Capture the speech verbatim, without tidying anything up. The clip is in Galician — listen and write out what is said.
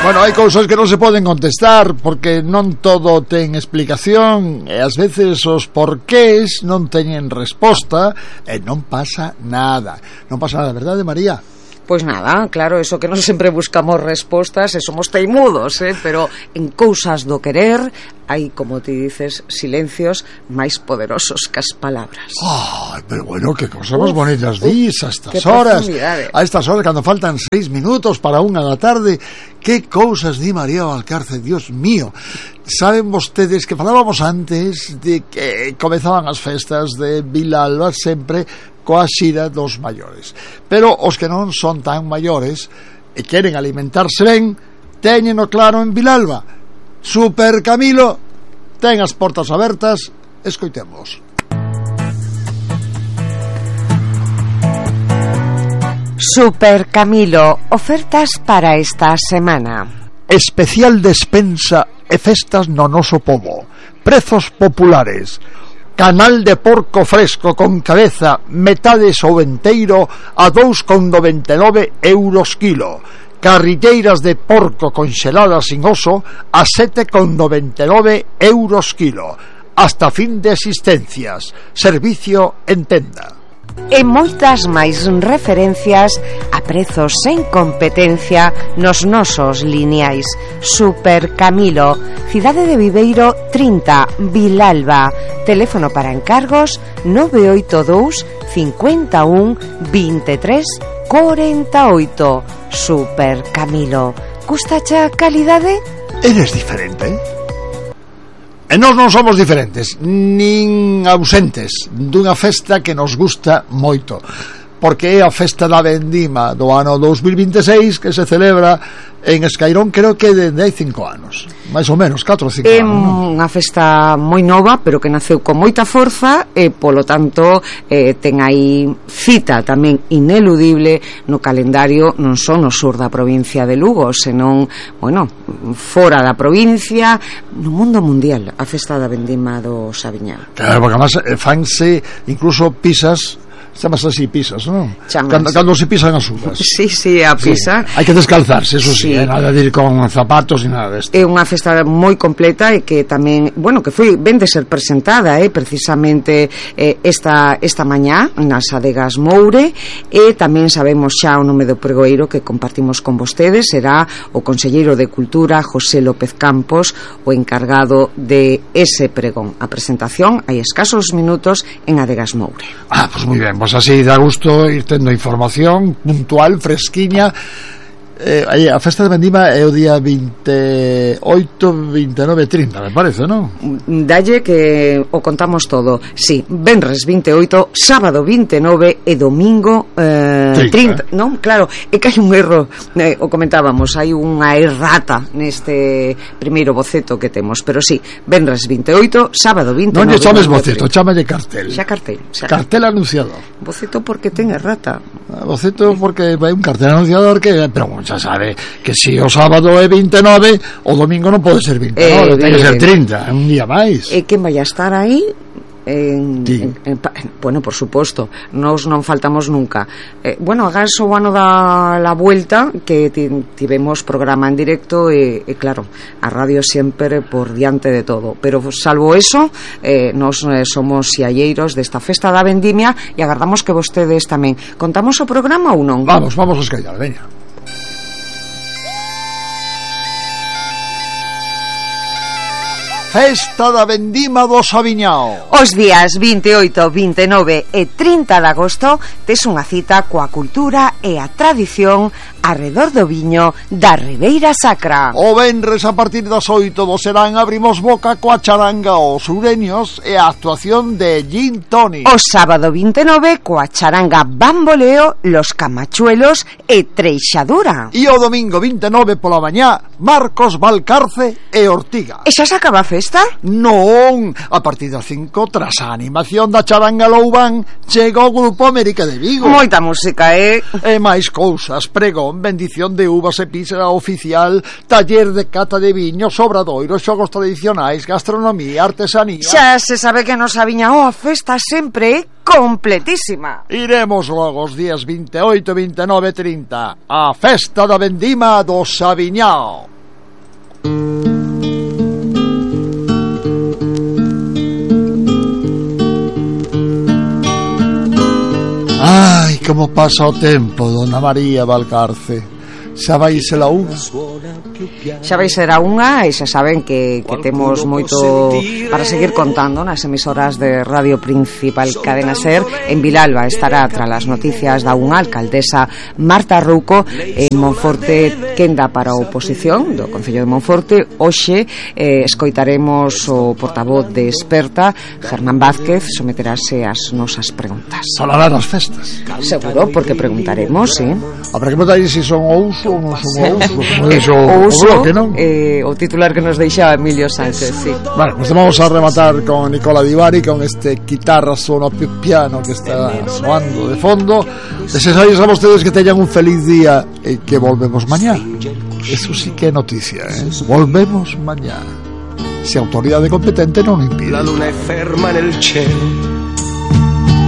Bueno, hai cousas que non se poden contestar porque non todo ten explicación e ás veces os porqués non teñen resposta e non pasa nada. Non pasa nada, verdade, María? Pois nada, claro, eso que non sempre buscamos respostas e somos teimudos, eh? Pero en cousas do querer hai, como ti dices, silencios máis poderosos que as palabras. Ay, pero bueno, que cosas máis bonitas dis a estas que horas. A estas horas, cando faltan seis minutos para unha da tarde, que cousas di María Valcárcel, Dios mío. Saben vostedes que falábamos antes de que comezaban as festas de Vilalba sempre coa xira dos maiores, pero os que non son tan maiores e queren alimentarse ben, téñeno claro en Vilalba. Super Camilo ten as portas abertas, escoitemos. Super Camilo, ofertas para esta semana. Especial despensa e festas no noso pobo. Prezos populares. Canal de porco fresco con cabeza, metade ou enteiro, a dous con noventa e nove euros kilo. Carrilleiras de porco conxeladas sin oso a sete con noventa e nove euros kilo. Hasta fin de existencias. Servicio en tenda. E moitas máis referencias a prezos sen competencia nos nosos lineais. Super Camilo, Cidade de Viveiro trinta, Vilalba. Teléfono para encargos nove oito dous, cinco un, vinte e tres, cuarenta e oito. Super Camilo, gustache a calidade? Eres diferente, eh? E nós non somos diferentes, nin ausentes dunha festa que nos gusta moito, porque é a festa da vendima do ano dous mil vinte e seis que se celebra en Escairón, creo que dende hai cinco anos, máis ou menos, catro ou cinco é anos. É unha festa moi nova, pero que naceu con moita forza e, polo tanto, eh, ten aí cita tamén ineludible no calendario, non só no sur da provincia de Lugo, senón, bueno, fora da provincia, no mundo mundial, a festa da vendima do Saviñá. Claro, porque además fanse incluso pisas, chamas así pisas, non? Cando, cando se pisan as uvas. Sí, sí, a pisa. Sí. Hai que descalzarse, eso sí, sí. Eh, nada de ir con zapatos e nada desto. É unha festa moi completa e que tamén, bueno, que foi ben de ser presentada, eh, precisamente eh, esta esta mañá nas adegas Moure, e tamén sabemos xa o nome do pregoeiro que compartimos con vostedes, será o conselleiro de Cultura, José López Campos, o encargado de ese pregón. A presentación hai escasos minutos en adegas Moure. Ah, pues moi ben. Pois así dá gusto ir tendo información puntual, fresquiña. Eh, a festa de vendima é o día veintioito, veintinueve, trinta, me parece, non? Dalle que o contamos todo. Sí, venres veintioito, sábado veintinueve e domingo eh, trinta, non? Claro, é que hai un erro, eh, o comentábamos, hai unha errata neste primeiro boceto que temos, pero sí, venres veintioito, sábado veintinueve. Non lle chames boceto, chámalle cartel. Xa cartel, xa cartel anunciador. Boceto porque ten errata. Boceto porque hai un cartel anunciador que, pero xa sabe que se o sábado é veintinueve, o domingo non pode ser veintinueve, eh, ten que ser trinta, é un día máis. E quen vai a estar aí? En, sí. en, en, bueno, por suposto, nos non faltamos nunca. Eh, bueno, agás o ano da la vuelta que tivemos programa en directo e, e claro, a radio sempre por diante de todo, pero salvo eso, eh, nos eh, somos xalleiros desta festa da vendimia e agardamos que vostedes tamén. Contamos o programa ou non? Vamos, vamos a escallar, veña. Festa da vendima do Saviñao. Os días veintioito, veintinueve e trinta de agosto tes unha cita coa cultura e a tradición arredor do viño da Ribeira Sacra. O venres a partir das oito do serán abrimos boca coa charanga os sureños e a actuación de Gin Tony. O sábado veintinueve coa charanga Bamboleo, Los Camachuelos e Treixadura. E o domingo veintinueve pola mañá Marcos Valcarce e Ortiga. E xa se acaba a festa? Non, a partir das cinco, tras a animación da charanga Loubán, chega o grupo América de Vigo. Moita música, eh? E máis cousas, pregón, bendición de uvas e pizza oficial, taller de cata de viño, obradoiros, xogos tradicionais, gastronomía, artesanía. Xa se sabe que nos Saviñao a festa sempre é completísima. Iremos logo os días veintioito, veintinueve e trinta a festa da vendima do Saviñao. Ai, como pasa o tempo, dona María Valcarce. Xa vai ser a unha. Xa vai ser a unha e xa saben que, que temos moito para seguir contando nas emisoras de Radio Principal Cadena Ser. En Vilalba estará tras as noticias da unha alcaldesa Marta Rouco. En Monforte quenda para a oposición do Concello de Monforte. Hoxe eh, escoitaremos o portavoz de Experta, Germán Vázquez, someterase as nosas preguntas. Falará nas festas. Seguro, porque preguntaremos, sí. Habrá que preguntar se son ouso ou non son ouso. Como o uso, o bloque, non? Eh, o titular que nos deixa Emilio Sánchez, sí. Bueno, pues vamos a rematar con Nicola Di Bari, con este guitarra suono più piano que está soando de fondo. Deseamos a ustedes que tengan un feliz día y que volvemos mañana. Eso sí que é noticia, ¿eh? Volvemos mañana. Si autoridade competente non impide. La luna è ferma nel cielo